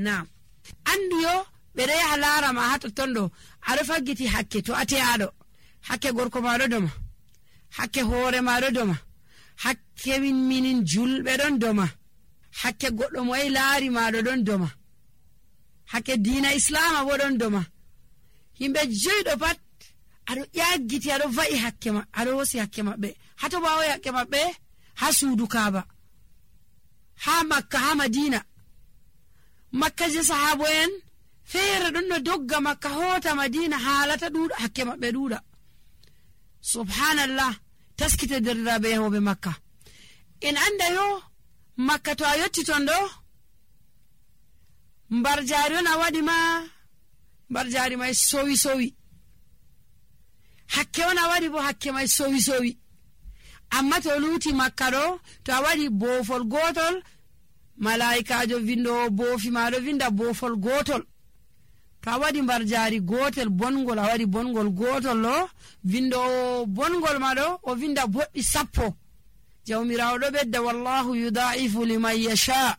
Naam, andu yo ɓe ɗo yaha laara ma ha totton ɗo aɗo faggiti hakke to ateyaɗo, hakke gorko maɗo doma, hakke hoore maɗo doma, hakke minin julɓe ɗon doma, hakke goɗɗo mo yahi laari maɗo ɗon doma, hakke diina islama bo ɗon doma. Yimɓe joyɗo pat aɗo ƴaggiti aɗo va'i hakke ma, aɗo hosi hakke maɓɓe. Hato bawo hakke maɓɓe? Ha suudu Kaaba, ha Makka, ha Madina. Makka je sahabo en feere ɗon no dogga Makka hota Madina haalata ɗuuɗa, hakke maɓɓe ɗuuɗa. Subhanallah, taskite derɗiraɓe yahoɓe Makka. En anda yo Makka to a yotti ton ɗo mbar jari on a waɗi ma, mbar jari may sowi sowi, hakke on a waɗi bo hakke may sowi sowi. Amma to luuti Makka ɗo to a waɗi boofol gotol, malaikajo vindowo boofi maɗo vinda boofol gotol. To a waɗi mbar jari gotel bongol, a waɗi bongol gotol ɗo, vindowo bongol maɗo o vinda boɗɗi 10. Jawmirawo ɗo ɓedda wallahu yudaifu liman yasha.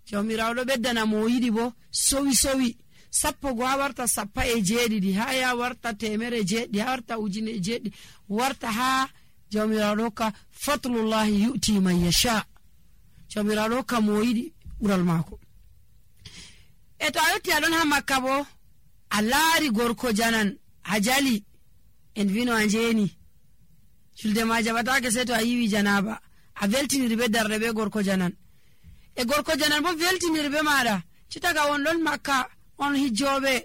Jawmirawo ɗo ɓeddana mo yiɗi bo sowi sowi. 10 go ha warta 17, ha ya warta 100, ha warta 1000, warta ha jawmirawo ɗo hokka fatlullahi yu'ti man yasha. Jawmirawo ɗo hokka mo yiɗi ɓural maako. E to a yotti aɗon ha Makka bo a laari gorko janan a jali, en vino a njeni, julde ma jaɓatake sei to a yiwi janaba, a veltiniri be darde be gorko janan. E gorko janan bo veltiniri be maɗa, citaga on ɗon Makka on hijjoɓe,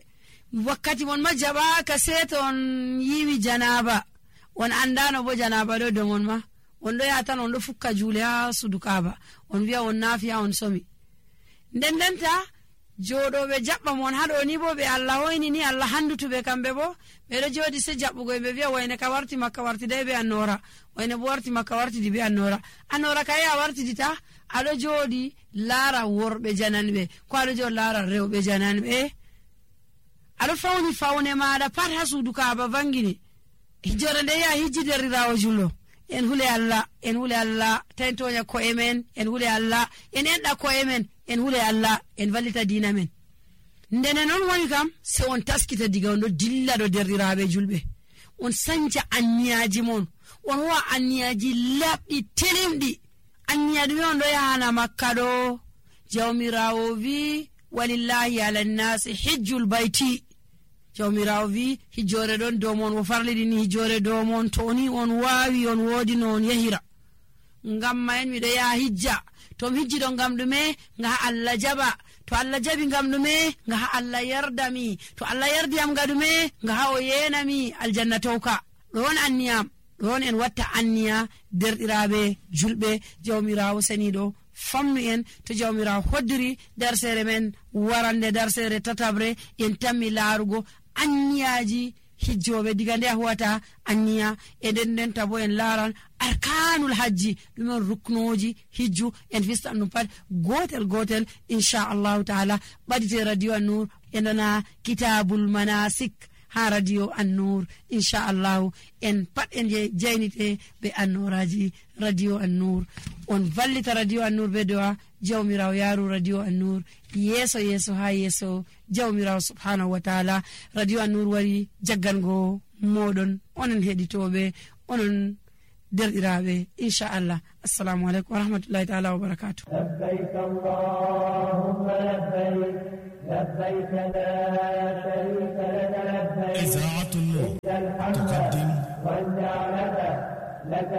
wakkati mon ma jaɓaka sei to on yiwi janaba, on andano bo janaba ɗo domon ma, on ɗo yaha tan on ɗo fukka juule ha sudu Kaaba, on wiya on naafiya on somi. Ndendenta joɗoɓe jaɓɓa mon haɗo ni bo ɓe Allah hoyni ni Allah handutuɓe kamɓe bo ɓeɗo joɗi se jaɓɓugo ɓe wiya wayne ka warti Makka wartidai be annora, wayne bo warti Makka wartidi be annora. Annora kayi a wartidita, aɗo joɗi laara worɓe jananɓe, ko aɗo joɗi laara rewɓe jananɓe, aɗo fawni fawne maɗa pat ha suudu Kaaba vangini. Hijjore nde ya hijji derrirawo jullo, en hule Allah, en hule Allah, tawi toña ko'e men, en hule Allah, en enɗa ko'e men, en hule Allah, en vallita diina men. Ndene non woni kam se on taskita diga on ɗo dilla ɗo derriraɓe julɓe, on sanca anniyaji mon, on howa anniyaji laɓɗi telimɗi. Anniya ɗume on ɗo yahana Makka ɗo? Jawmirawo wi walillahi ala nnasi hijjul bayti. Jawmirawo wi hijjore ɗon dow mon, o farliɗini hijjore dow mon, to ni on wawi on wodi no on yahira. Ngam ma en miɗo yaha hijja, to mi hijji ɗo ngam ɗume? Nga Allah jaɓa, to Allah jaɓi ngam ɗume? Nga Allah yardami, to Allah yardiyam nga ɗume? Nga o yenami aljanna towka. ɗon anniyam, ɗon en watta anniya derɗiraɓe julɓe. Jawmirawo seniɗo famnu en, to jawmirawo hoddiri darsere men warande darsere tatabre, en tammi laarugo anniyaji hijjoɓe diga nde a huwata anniya, e nden tabo en laaran arkanul hajji, ɗumen ruknoji hijju, en fistan ɗum pat gotel gotel inchallahu taala. ɓadite radio an-nur e nana kitabul manasik ha radio an-nur inchallahu, en pat en jaynite be annoraji radio an-nur. On vallita radio an-nur be do'a jawmirawo yaru radio an-nur yeso yeso ha yeso jawmirawo subhanahu wa ta'ala. Radio an-nur wari jaggango moɗon onon heɗitoɓe, onon derɗiraɓe inchallah. Assalamu aleykum wa rahmatullahi ta'ala wa barakatuh. labbayk allahumma labbayk labbayk la sharika laka labbayk. إذاعة النور تقدم والنعمة لك